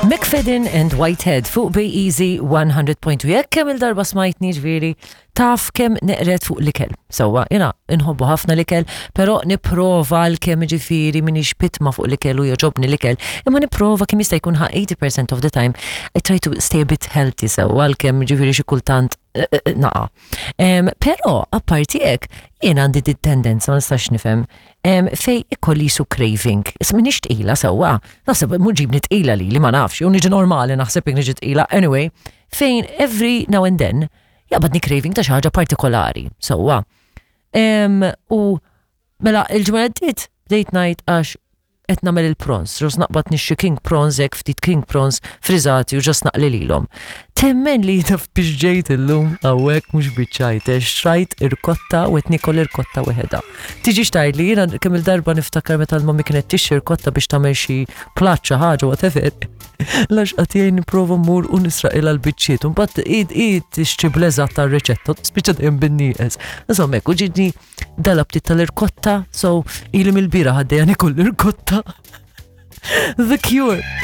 McFadden and Whitehead fuq Bay Easy 100.2. Jekk kemm il-darba smajtni ġviri, taf kemm neqret fuq l-ikel. Sewwa, jena nħobbu ħafna l-ikel, pero niprova l-kemm ġifiri minix pitma fuq l-ikel u joġobni l-ikel, imma niprova kemm jista' jkun ħa 80% of the time I try to stay a bit healthy sewwa l-kemm ġifiri xi kultant eh, eh, naqa. Pero, apparti hekk, jien għandi dit tendenza ma nistax nifhem fej ikolli su craving. Issa minix tqila sewwa, naħseb mhux ġibni tqila li li ma nafx, jew niġi normali naħseb jekk niġi tqila. Anyway, fejn every now and then jaqbadni craving ta' xi ħaġa partikolari sewwa. U mela il-ġimgħa għaddiet bdejt ngħid għax qed nagħmel il-prawns, ġos naqbad nixxi king prawns hekk ftit king prawns friżati u ġos naqli lilhom. Temmen li taf biex ġejt illum hawnhekk mhux biċċajt, xtrajt irkotta u qed nikol irkotta weħeda. Tiġi xtajt li jiena kemm il-darba niftakar meta l-mommi kienet tixxi irkotta biex tagħmel xi platt xi ħaġa whatever. Lax qed jgħin nipprova mmur u nisraqilha l-biċċiet u mbagħad id id tixtri bl-eżatt tar-riċetta spiċċa dejjem bin-nieqes. Insomma hekk u ġidni dal-aptit tal-irkotta, so ili mill-bira ħaddejja nikol l-irkotta. The Cure.